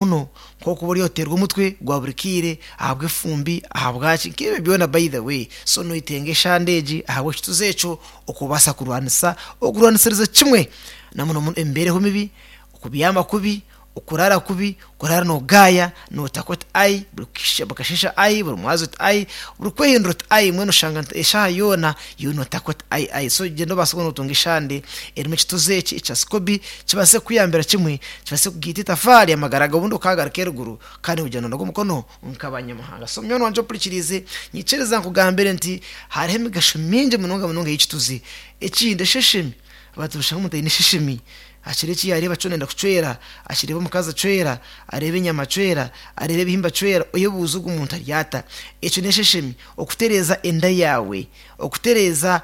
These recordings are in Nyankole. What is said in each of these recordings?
Muno nk'okuba ori oteerwa omutwe gwa buri kaire ahabw'efumbi ahabwaki nk'ebyo byona by the way so noyetenga eshande egi ahabw'ekituzi ekyo okubaasa kurwanisa okurwanisiriza kimwe na muno muno emibeereho mibi, okubyama kubi, okuraara kubi, okuraara noogaaya nootaka oti ai buri kasheeshe ai buri mwazyo oti ai buri kwehindura oti ai mbwenu oshanga nti eshaaha yoona iwe nootaka oti ai ai so gyenda obaase kuba nootunga eshande erimu ekituzi eki ekya sikobi kibaase kukuyambira kimwe kibaase kugaita etafaari amagara gawe obundi okaagaruka eruguru kandi ogira noonaga omukono nk'abanyamahanga. So munywani wangye ompurikiriize nyikiriza nkugambire nti hariho emigasho mingi munonga munonga ey'ekituzi. Ekindi esheshemi, abantu nibashanga omuntu aine esheshemi akira eki yaareeba kyona ayenda kucwera, akireeba omukazi acwera, areeba enyama acwera, areeba ebihimba acwera, oyebuuze ogu omuntu ari ata? Ekyo n'esheshemi, okutereeza enda yaawe. Okutereeza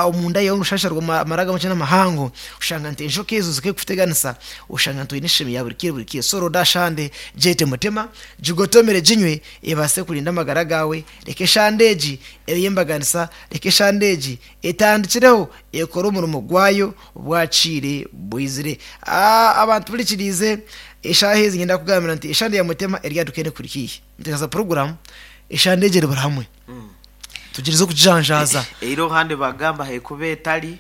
omunda yaawe omurushasha rw'amara gamakye n'amahango, oshanga nti enjoka ezo zikekuteganisa, oshanga nti oine eshemi ya buri kaire buri kaire. So ronda shande gyete mutema, gigotomere ginywe ebaase kurinda amagara gaawe. Reka eshande egi ebe ey'embaganisa, reka eshande egi etandikireho ekore omurimo gwayo bwakiire bwizire. Abantu hurikiriize eshaaha ezi niinyenda kukugambira nti eshande ya mutema eri aha duka ekuri haihi. Nituteekateeka puroguraamu eshande egi eri buri hamwe. Tugyerize okugijanjaaza. Eira ahandi bagamba hekuba etari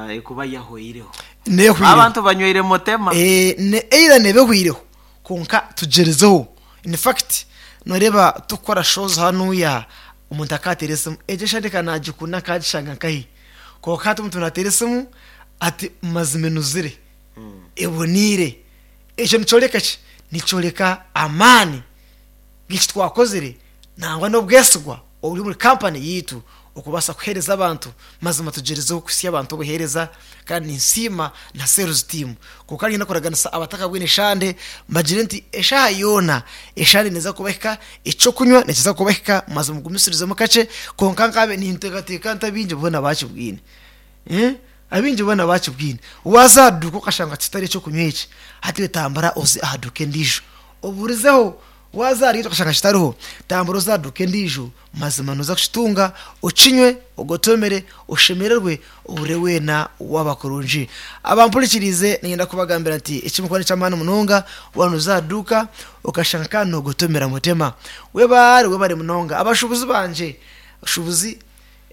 ekuba yahweireho. Nehwireho. Abantu banyweire mutema. Eira neeba ehwireho kwonka tugyerizeho. In fact noreeba tukukora shows hanuya omuntu akateera esimu egyo eshande ka nagikunda nkagishanga nkahi? Kwonka hati omuntu nateera esimu ati mazima enuzire, eboniire. Ekyo nikyoreka ki? Nikyoreka amaani g'eki twakozire nangwa n'obwesigwa oburi omuri kampani yaitu okubaasa kuheereza abantu. Mazima tugyerizeho kuhitsya abantu obuheereza kandi ninsiima na sales team. Kwonka niinyenda kuraganisa abatakabwine eshande mbagire nti eshaaha yoona eshande neeza kubahika, eky'okunywa nikiza kubahika mazima mugumisirizemu kakye kwonka nkabe ninteekateeka nti abaingi boona baakibwine. Abaingi boona baakibwine. Waaza aha duuka okashanga kitari eky'okunywa eki, hati iwe tambura oze aha duuka endiijo oburizeho. Waaza ahari egi okashanga kitariho, tambura oze aha duuka endiijo, mazima nooza kukitunga, okinywe, ogotomere, oshemererwe, ohurire weena waaba kurungi. Abampurikiriize niinyenda kubagambira nti eki murikukora n'eky'amaani munonga, waaba nooza aha duuka okashanga kandi noogotomera mutema. Webare, webare munonga. Abashuubuzi bangye, abashuubuzi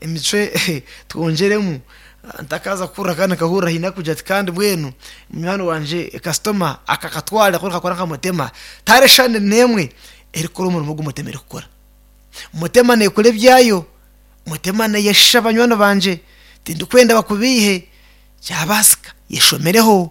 Emicwe twongyeremu ntakaaza kuhurira kandi nkahurira haine arikugira ati kandi mbwenu munywani wangye kasitoma akakatwara ku kakora nka mutema tihariho eshande n'emwe erikukora omurimo ogu mutema erikukora. Mutema neekora ebyayo, mutema neeyeshisha banywani bangye tindikwenda bakubeihe kyabaasika yeshomereho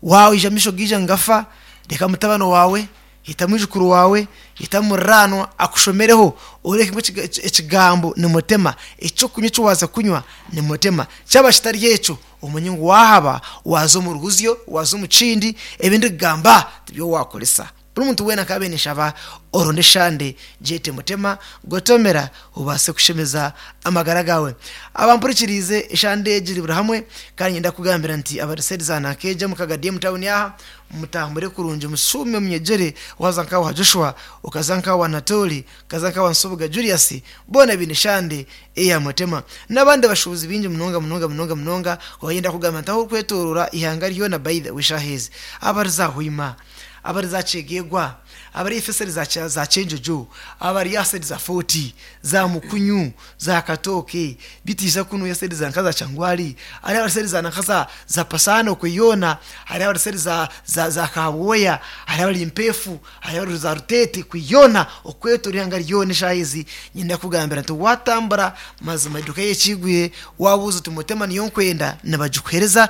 waija amaisho gaija nigafa reka mutabani waawe Yeta mwijukuru waawe, yeta muriraanwa akushomereho oreke ngu ekigambo ni mutema, eky'okunywa eki waaza kunywa ni mutema. Kyaba kitari ekyo, omanye ngu waahaba waaza omu ruhuzyo, waaza omu kindi, ebi ndikugamba tibyo waakoresa. Buri muntu weena nkaabaire ninshaba oronde eshande, gyete mutema, gotomera obaase kushemeza amagara gaawe. Abampurikiriize, eshande egi eri buri hamwe kandi niinyenda kukugambira nti abari seedi za Nakeeja omu Kagadi omu tawuni aha, Mutambure kurungi mushuume munyegyere, waaza nka wa Joshua, okaza nka wa Anatooli, okaza nka wa Nsubuga Julius, boona baine eshande eya Mutema. N'abandi bashuubuzi baingi munonga munonga munonga munonga, wayenda kugamba nti ahu orikwetooroora eihanga ryona by the way eshaaha ezi, abari za Hoima, abari za Kyegegwa, abari eifo eseri za Kyenjojo, abari aha side za Fort, za Mukunyu, za Katooke, bitiisa kunu esedi za nka za Kyangwali, hariho abari sedi za nanka za za Pasana okwe yoona, hariho abari sedi za za za Kabwoya, hariho abari Mpeefu, hariho abari za Ruteete kwe yoona okwetoora eihanga ryona eshaaha ezi niinyenda kukugambira nti waatambura mazima eduuka y'ekiigwire waabuuza oti Mutema niyo nkwenda nibagikuheereza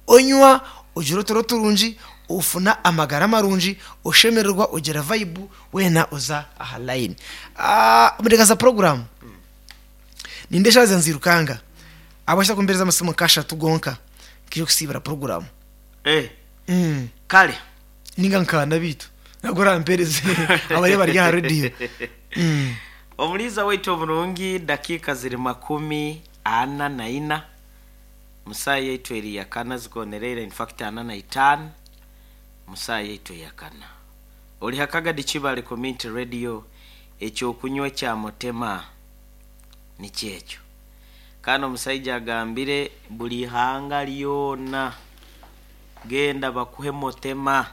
onywa ogira oturo turungi ofuna amagara marungi oshemererwa ogira vayibu weena oza aha layini. Omuteekateesa puroguraamu, nindeeba eshaaha nizirukanga ahabw'enki otakumpeereza amasimu nk'ashatu gonka nkaija kusiibura puroguraamu. Kare. Ninga nkaana beitu nabwo orampeereze abariyo bari aha rediyo. Omuriisa waitu omurungi dakiika ziri 44 mu saaha yaitu eri yakana zikonereire in fact 45 mu saaha yaitu eyakana. Ori ha Kagadi Kibale Community Radio, eky'okunywa ekya Mutema nikyo ekyo. Kandi omusaija agambire buri ihanga ryona, genda bakuhe Mutema.